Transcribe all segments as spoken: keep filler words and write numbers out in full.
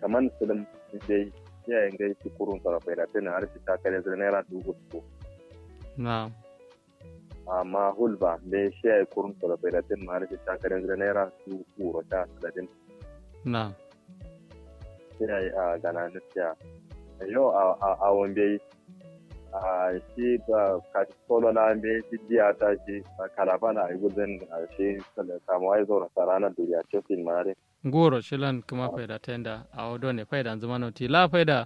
Kaman sǝlǝm dai. Shiya ye ngai shi kurun soro faida tǝna har shi ta kare zǝ naira dubu uku. Na'am. Amma hulba dai shiya ye kurun soro faida tǝna ma har shi ta kare zǝ naira dubu uku ro ta saladin. Na'am. Shiya ye a gana nasiya. Yo a a wambe. A shi ba kati solo na mbe shi diya ta shi. Kalaba na ayi gulzin. A shi kamuwa ya zaura sarana duriya cokin ma dai. Nguro shilan kǝma faida tenda awo done faida nzǝma noti la faida.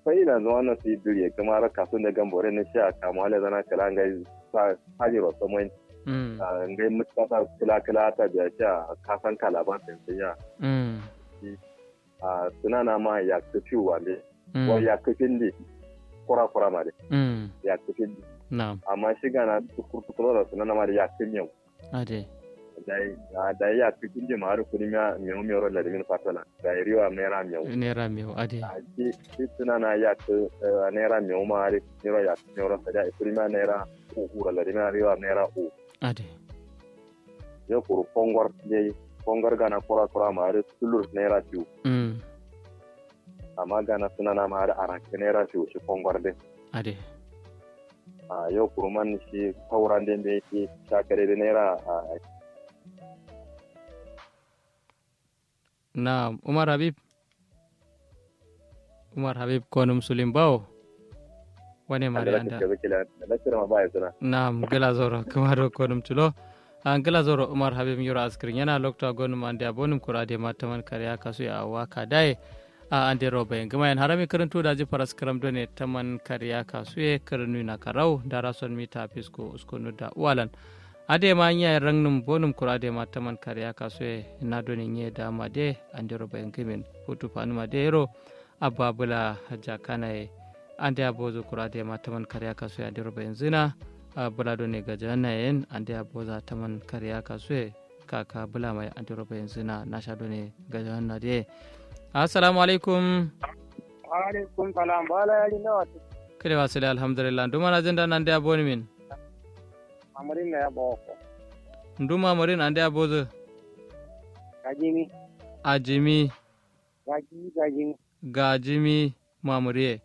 Faida nzǝma noti duriye kǝma ra kasu ne gambore ne shiya kamuwa le zana kala ngai. Sa hajiro somoin. Ngai mutkata kala kala ta biya shiya kasan kalaba tenda ya. A sǝnana ma yakkǝ fiu wande. Wa yakkǝ findi. Kura kura ma de. Yakkǝ findi. Amma shi gana tukur tukur da sǝnana ma de yakkǝ miyau. Ade. Dai yakkǝ findi ma har kuri miya miyau miyau ro ladimin fatola. Dai riwa naira miyau. Naira miyau ade. Shi sǝnana yakkǝ naira miyau ma har niro yakkǝ miyau ro sadiya kuri miya naira uku ro ladimin riwa naira uku. Ade. Yo kuru kongor dai kongor gana kura kura ma har tulur naira fiu. Amma gana sǝnana ma har arakke naira fiu shi kongor dai. Ade. A yo kuruman shi kauran dai mbe shi shakare dai naira. A. Na'am umar habib. Umar habib konum sulim bawo. Wane mari anda. Na'am gila zoro kǝma do konum tulo. A ngla zoro umar habib nyiro askǝr nyena lokto a gonum ande abonum kura de ma taman kariya kasu ye awo waka daye. A ande ro bayin gǝma yen harami kǝrǝntu daji faraskǝram done taman kariya kasu ye kǝrǝnu ye nakarau dara son mita fisko uskunu da uwalan. Ade ma nya ye rangnum bonum kura de ma taman kariya kasu ye na done nye dama de ande ro bayin gǝmin futu fanuma de yero. Abba bula jakana ye ande abozu kura de ma taman kariya kasu ye ande ro bayin zǝna. Bula done gajanna yen ande aboza taman kariya kasu ye. Kaka bǝla mai andiro bayanzǝna nasha done gajanna de. Assalamu alaikum. Wa alaikum salam bala yari nawa. Kǝlewa sǝle alhamdulillah ndu manajin da nande aboni min. Mamurin na ya boko. Ndu mamurin ande abozǝ. Gajimi. Ajimi. Gajimi gajimi. Gajimi. Mamuriye.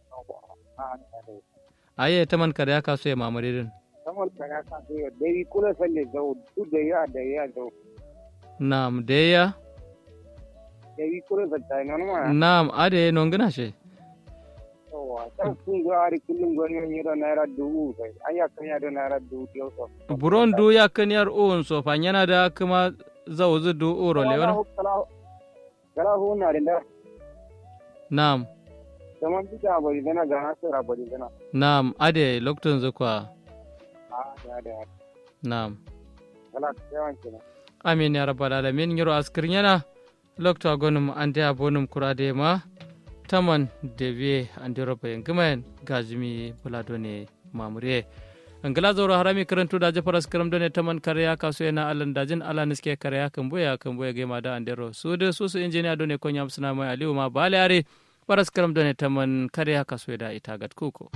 Aye taman kariya kasuye mamuri din. Taman kariya kasuye dawi kula salle zau du dawi a dawi a zau. Nam dawi ya. Dawi kula salle zau. Nam ade nongina she. Yawa ta kun go ari kullum go yo nyiro naira dubu sai an yakkan ya do naira dubu diyo so. Buron du yakkan yar uwun so fanyana da kuma zauzu du uro lewana. Gala huna din da. Nam. Zaman duka bari zana ga hasara bari zana. Nam ade loktunzu kwa. Nam. Gala yawan kenan. Amin ya rabbal alamin nyiro askir nyana. Loktu agonum ande abonum kura de ma. Taman debiye andiro bayin gǝmayen gajimi bula done. Mamuriye. Ngla zauro harami kǝrǝntu daji faraskǝram done taman kare ya kasu ye na alan dajin ala niske kare ya kǝmbuye ya kǝmbuye gaima da andero sudu susu injiniya done konyam sǝna mai aliwu ma bale are. Faraskǝram done taman kare ya kasu ye da ita gatkuko.